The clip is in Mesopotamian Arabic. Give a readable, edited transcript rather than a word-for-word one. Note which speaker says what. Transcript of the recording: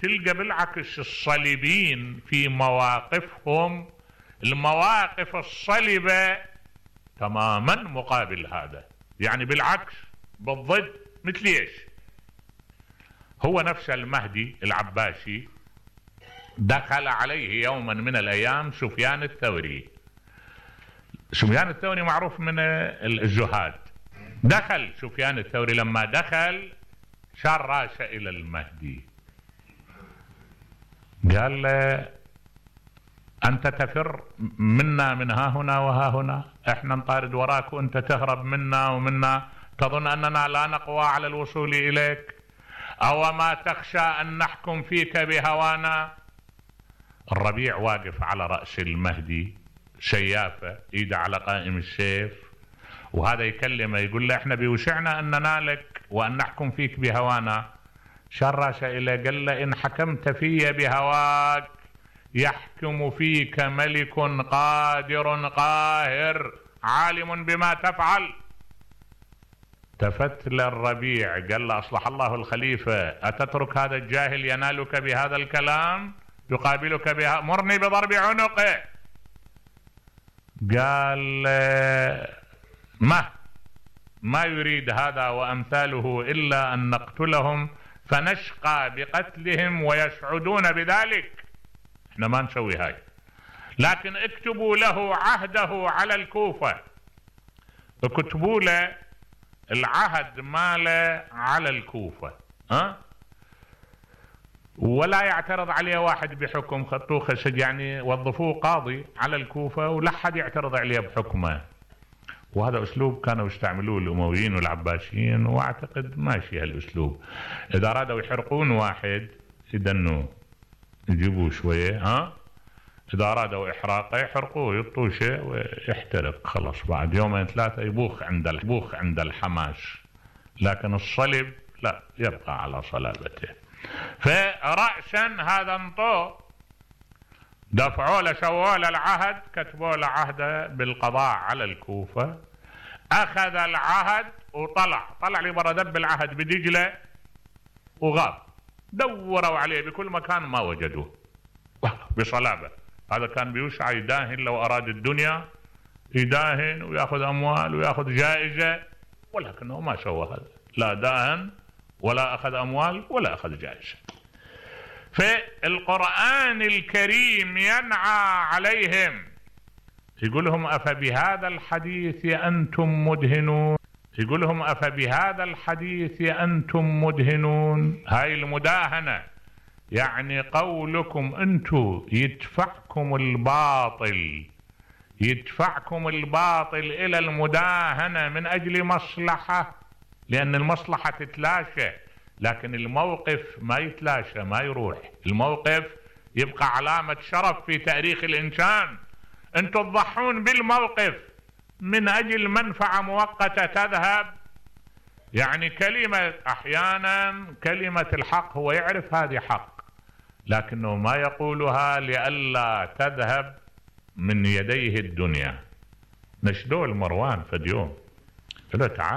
Speaker 1: تلقى بالعكس الصليبيين في مواقفهم المواقف الصلبة تماما مقابل هذا، يعني بالعكس بالضد. مثل ايش؟ هو نفس المهدي العباسي دخل عليه يوما من الايام سفيان الثوري. سفيان الثوري معروف من الزهاد. دخل سفيان الثوري، لما دخل شار راسه الى المهدي، قال له: انت تفر منا من ها هنا وها هنا، احنا نطارد وراك وانت تهرب منا ومنا، تظن اننا لا نقوى على الوصول اليك؟ او ما تخشى ان نحكم فيك بهوانا؟ الربيع واقف على رأس المهدي، سيافة ايده على قائم السيف، وهذا يكلمه يقول له: احنا بيوسعنا ان ننالك وان نحكم فيك بهوانا. شار راسه إليه قال له: ان حكمت في بهواك يحكم فيك ملك قادر قاهر عالم بما تفعل. التفت للربيع قال له: اصلح الله الخليفة، اتترك هذا الجاهل ينالك بهذا الكلام يقابلك بها؟ مرني بضرب عنقه. قال: ما يريد هذا وامثاله الا ان نقتلهم فنشقى بقتلهم ويسعدون بذلك، احنا ما نسوي هاي، لكن اكتبوا له عهده على الكوفة، اكتبوا له العهد ماله على الكوفة، ولا يعترض عليه واحد بحكم، خطوه خشج يعني وظفوه قاضي على الكوفة ولا حد يعترض عليه بحكمه. وهذا اسلوب كانوا يستعملوه الامويين والعباسيين، واعتقد ماشي هالاسلوب. اذا ارادوا يحرقون واحد يدنوه، يجيبوه شويه، اذا ارادوا احراقه يحرقوه، يطوه شيء ويحترق، خلاص بعد يومين ثلاثه يبوخ عند الحماس. لكن الصلب لا، يبقى على صلابته. فرأسا هذا انطوه، دفعوا له، سووا له العهد، كتبوا له عهده بالقضاء على الكوفة. اخذ العهد وطلع لي برا، دب العهد بدجلة وغاب. دوروا عليه بكل مكان ما وجدوه بصلابة. هذا كان بيوسع يداهن، لو اراد الدنيا يداهن وياخذ اموال وياخذ جائزة، ولكنه ما سوى هذا، لا داهن ولا اخذ اموال ولا اخذ جائزة. فالقرآن الكريم ينعى عليهم، يقول لهم: أفبهذا الحديث أنتم مدهنون، يقول لهم: أفبهذا الحديث أنتم مدهنون. هاي المداهنة يعني قولكم أنتم يدفعكم الباطل إلى المداهنة من أجل مصلحة، لأن المصلحة تتلاشى، لكن الموقف ما يتلاشى، ما يروح. الموقف يبقى علامة شرف في تاريخ الإنسان. أنتم تضحون بالموقف من أجل منفعة مؤقتة تذهب. يعني كلمة، أحيانا كلمة الحق هو يعرف هذه حق، لكنه ما يقولها لئلا تذهب من يديه الدنيا. نشدوه المروان فد يوم، قال له: تعال